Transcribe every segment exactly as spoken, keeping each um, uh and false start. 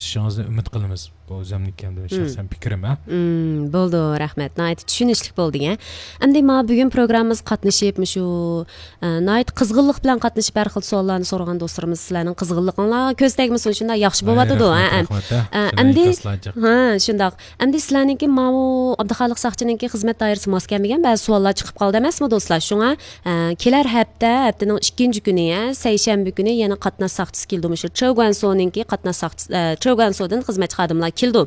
قىلىشىڭىزنى ئۈمىد قىلىمىز. بۇ ئۆزۈمنىڭكى ئەمدى شەخسەن پىكرىم، ھە. مم، بولدى، رەھمەت. ناھايىتى چۈشىنىشلىك بولدى، ھە. ئەمدى ما بۈگۈن پروگراممىمىزغا قاتنىشىپ، مۇشۇ، ئە، ناھايىتى قىزغىنلىق بىلەن قاتنىشىپ، ھەر خىل سوئاللارنى سورىغان دوستلىرىمىز، سىلەرنىڭ قىزغىنلىقىڭلارغا كۆز تەگمىسۇن، شۇنداق ياخشى بولۇۋاتىدۇ، ھە، رەھمەت، ھە. رەھمەت، ھە. ئە، شۇنداق ئەمدى، ئىنكاسلار جىق. ھە، شۇنداق. ئەمدى سىلەرنىڭكى ماۋۇ ئابدۇخالىق ساقچىنىڭكى خىزمەت دائىرىسىگە ماس كەلمىگەن بەزى سوئاللار چىقىپ قالدى ئەمەسمۇ، دوستلار؟ شۇڭا، ئە، كېلەر ھەپتە، ھەپتىنىڭ ئىككىنچى كۈنى، ھە، سەيشەنبە كۈنى يەنە قاتناش ساقچىسى كېلىدۇ. مۇشۇ چېۋگۇەنسونىڭكى قاتناش ساقچىسى، ئە، چېۋگۇەنسودىن خىزمەتچى خادىملار كېلىدۇ.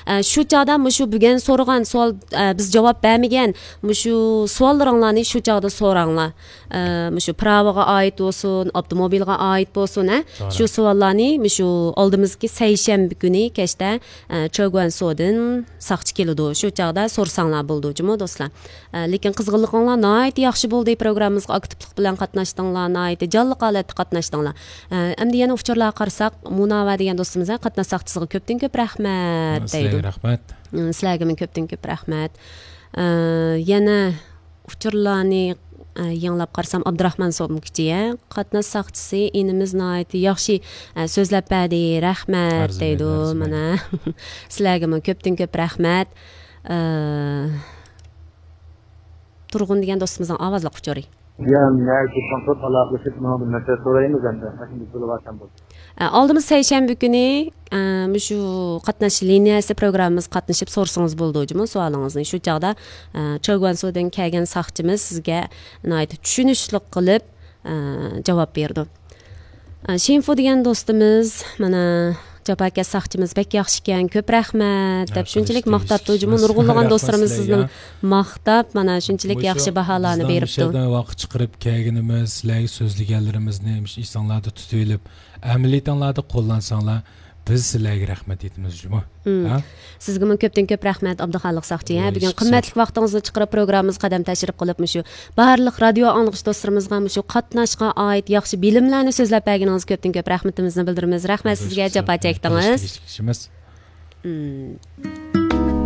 ئە، شۇ چاغدا مۇشۇ بۈگۈن سورىغان سوئال، ئە، بىز جاۋاب بەرمىگەن مۇشۇ سوئاللىرىڭلارنى شۇ چاغدا سوراڭلار. ئە، مۇشۇ پىراۋىغا ئائىت بولسۇن، ئاپتوموبىلغا ئائىت بولسۇن، ھە؟ شۇ سوئاللارنى مۇشۇ ئالدىمىزدىكى سەيشەنبە كۈنى كەچتە، ئە، چېۋگۇەنسودىن ساقچى كېلىدۇ. شۇ چاغدا سورىساڭلار بولىدۇ جۇمۇ، دوستلار. ئە، لېكىن قىزغىنلىقىڭلار ناھايىتى ياخشى بولدى، پروگراممىمىزغا ئاكتىپلىق بىلەن قاتناشتىڭلار، ناھايىتى جانلىق ھالەتتە قاتناشتىڭلار. ئە، ئەمدى يەنە ئۇچۇرلارغا قارىساق، مۇنەۋۋەر دېگەن دوستىمىز، ھە، قاتناش ساقچىسىغا كۆپتىن كۆپ رەھمەت دەيدۇ. سىلەرگە رەھمەت. ئە، سىلەرگىمۇ كۆپتىن كۆپ رەھمەت. ئە، يەنە ئۇچۇرلارنى، ئە، يېڭىلاپ قارىسام، ئابدۇراخمان سومكىچى، ھە، قاتناش ساقچىسى ئىنىمىز ناھايىتى ياخشى، ئە، سۆزلەپ بەردى، رەھمەت دەيدۇ. مانا، سىلەرگىمۇ كۆپتىن كۆپ رەھمەت. ئە، تۇرغۇن دېگەن دوستىمىزنىڭ ئاۋازلىق ئۇچۇرى. يا، نەگە تېلېفون قىلىپ ئالاقىلىشىپ، ماڭا بىر مەسىلە سورايمىز ئەمدى. مۇشۇنداق بولۇۋاتسام بولدى. ئە، ئالدىمىز سەيشەنبە كۈنى، ئە، مۇشۇ قاتناش لىنىيەسى پروگراممىمىزغا قاتنىشىپ سورىسىڭىز بولىدۇ جۇمۇ سوئالىڭىزنى. شۇ چاغدا، ئە، چېۋگۇەنسودىن كەلگەن ساقچىمىز سىزگە ناھايىتى چۈشىنىشلىق قىلىپ، ئە، جاۋاب بېرىدۇ. ئە، شىنفۇ دېگەن دوستىمىز، مانا، جاپاكەش ساقچىمىز بەك ياخشىكەن، كۆپ رەھمەت دەپ شۇنچىلىك ماختاپتۇ جۇمۇ. نۇرغۇنلىغان دوستلىرىمىز سىزنىڭ ماختاپ، مانا، شۇنچىلىك ياخشى باھالارنى بېرىپتۇ. ۋاقىت چىقىرىپ كەلگىنىمىز، سىلەرگە سۆزلىگەنلىرىمىزنى مۇشۇ ئېسىڭلاردا تۇتۇۋېلىپ، ئەمەلىيىتىڭلاردا قوللانساڭلار، بىز سىلەرگە رەھمەت ئېيتىمىز جۇمۇ. ھە؟ سىزگىمۇ كۆپتىن كۆپ رەھمەت، ئابدۇخالىق ساقچى. ھە، بۈگۈن قىممەتلىك ۋاقتىڭىزنى چىقىرىپ، پروگراممىمىزغا قەدەم تەشرىپ قىلىپ، مۇشۇ بارلىق رادىيو ئاڭلىغۇچى دوستلىرىمىزغا مۇشۇ قاتناشقا ئائىت ياخشى بىلىملەرنى سۆزلەپ بەرگىنىڭىزگە كۆپتىن كۆپ رەھمىتىمىزنى بىلدۈرىمىز. رەھمەت سىزگە، جاپا چەكتىڭىز. مم.